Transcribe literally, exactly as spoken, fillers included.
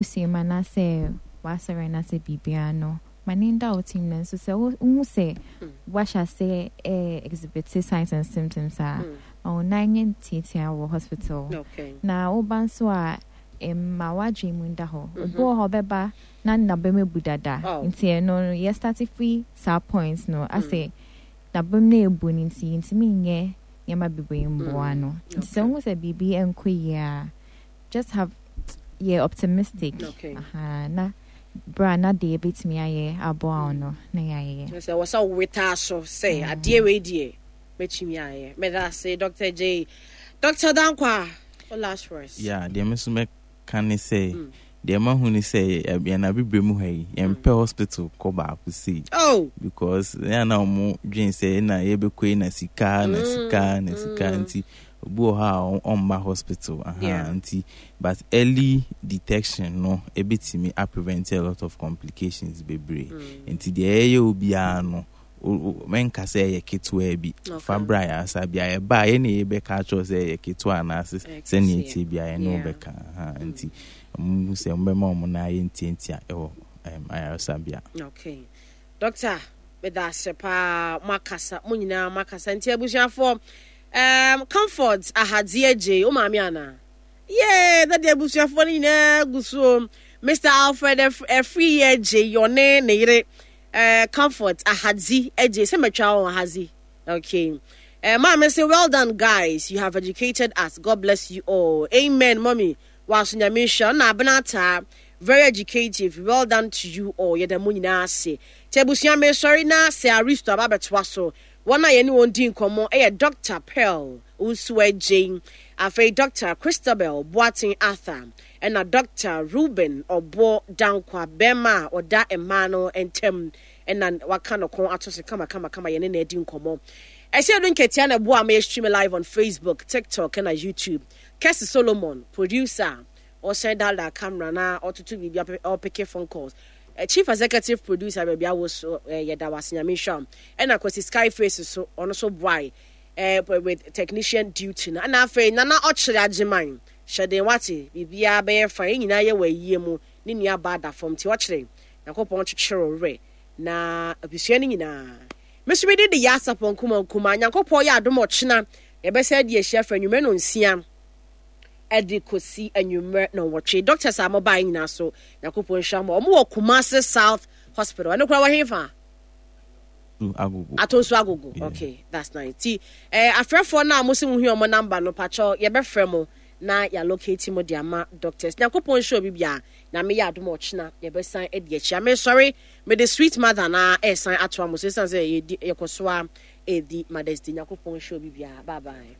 W'abusua mu anaasɛ w'asɔre anaasɛ biribiara no, ma ne nda wo tirim. No nso sɛ wohu sɛ wahyɛ ase eh, exhibit signs and symptoms a, ma wo nan nyɛ ntiatia wɔ hospital. Okay. Na woba nso a, ma w'adwene mu nda hɔ. Obi wɔ hɔ, ɔbɛba na n'abam abu dada. Oh. Nti ɛno no, yɛ start firi saa point no asɛ n'abam no ebu no, nti ntumi nyɛ nneɛma bebree mboa no. Nti sɛ wohu sɛ biribi nkɔ yie a, just have yɛ optimistic. Okay. Aha, na bra na deɛ ebɛtumi ayɛ aboa wo no na yɛayɛ. Sɛ wɔ sɛ wowetaa so sɛ adeɛ wei deɛ mɛtumi ayɛ. Meda ase, Doctor J. Doctor Dankwa, wo last words. Yeah, deɛ me nso mɛka ne sɛ, deɛ mahu ne sɛ ɛ- yɛn abibire mu ha yi, yɛmpɛ hospital kɔ baako sei. Oh. Because ɛyɛ na ɔmo dwen sɛ na yɛbɛkɔ yi na sika na sika na sika, nti obi wɔ hɔ a ɔn- ɔmma hospital aha. Yeah. Nti but early detection no ebitumi a prevent a lot of complications bebree. Nti deɛ ɛyɛ obiara no, o- o- mɛnka sɛ ɛyɛ ketewa bi. Okay. Fa bra ayaresabea, yɛba a, yɛne yɛbɛka akyerɛw sɛ ɛyɛ ketewa anaasɛ sɛnea ɛtie bia yɛne Yeah. wobɛka aha. Nti ɔmo sɛ ɔmbɛma ɔmo na ayɛ ntiantia ɛwɔ um, ayaresabea. Okay, Doctor, meda ase paa. Moakasa, mo nyinaa moakasa. Nti abusuafoɔ, um, Comfort Ahadze Agye wo maame anaa yee dade, abusuafoɔ no nyinaa gu so. Mister Alfred Afiri Agye, ɔne ne yere uh, Comfort Ahadzi Agye, sɛ matwa wɔn Ahadzi. Okay. uh, maame say, "Well done, guys, you have educated us. God bless you all." Amen, mommy. Waso Nyame nhyira na abena taa. Very educative. Well done to you all. Yɛda mo nyinaa ase. Nti abusua, mesɔre na sɛ Aristo aba abɛtoa so. Wɔn a yɛne wɔn di nkɔmmɔ ɛyɛ Doctor Pearl Nsu Agye, afei Doctor Christabel Boateng Arthur, ɛna Doctor Ruben Ɔbɔ Dankwa, bɛrima a ɔda mmaa no ntam ɛna waka no ko ato so kamakamakama. Yɛne na adi nkɔmmɔ. Ɛsɛ do nketea na ɛboa ma yɛ live on Facebook, TikTok ɛna YouTube. Kɛse Solomon, producer, ɔhyɛn dada camera na ɔtoto biribi, ɔ pick phone calls. uh, chief executive producer, baabi awo so, uh, yɛda wase, Nyame nhyira wo. Ɛna Kwasi Skyface so, ɔno so boae uh, with technician duty no. Ɛna afei Nana Ɔkyerɛ Agyeman hyɛden, wate, biribiara bɛyɛ fa. Yɛn nyinaa yɛ wɔ ayie mu ne nua baa da fam, nti ɔkyerɛ Nyankopɔn kyekyere wo werɛ na abusua no nyinaa. Meso mede de yɛ asapɔ nkuma nkuma. Nyankopɔn yɛ adom, ɔkyena yɛbɛsɛ de ahyia fa anwummerɛ no nsia ɛde kɔsi anwummerɛ na nwɔtwe. Doctors a mobaeɛ nyinaa so, Nyankopɔn nhyira mo. Ɔmo wɔ Kumase South Hospital. Ɛno koraa wɔ hefa? Agogo. Atonso Agogo. Yeah. Okay, that's nice. Ti eh, afrɛfoɔ no a mo sɛ mohu ɔmo number no, pakyɛw, yɛbɛfrɛ mo na yɛa locate mo de ama doctors. Nyankopɔn nhyɛ obi bia. Nyame yɛ adom a, ɔkyena yɛbɛsan adi akyi. Amesɔre mede sweet mother na ɛsan atoa mo so, ɛsiane sɛ yɛdi yɛkɔ so a ɛdi Mothers Day. Nyankopɔn nhyɛ obi bia. Bye bye.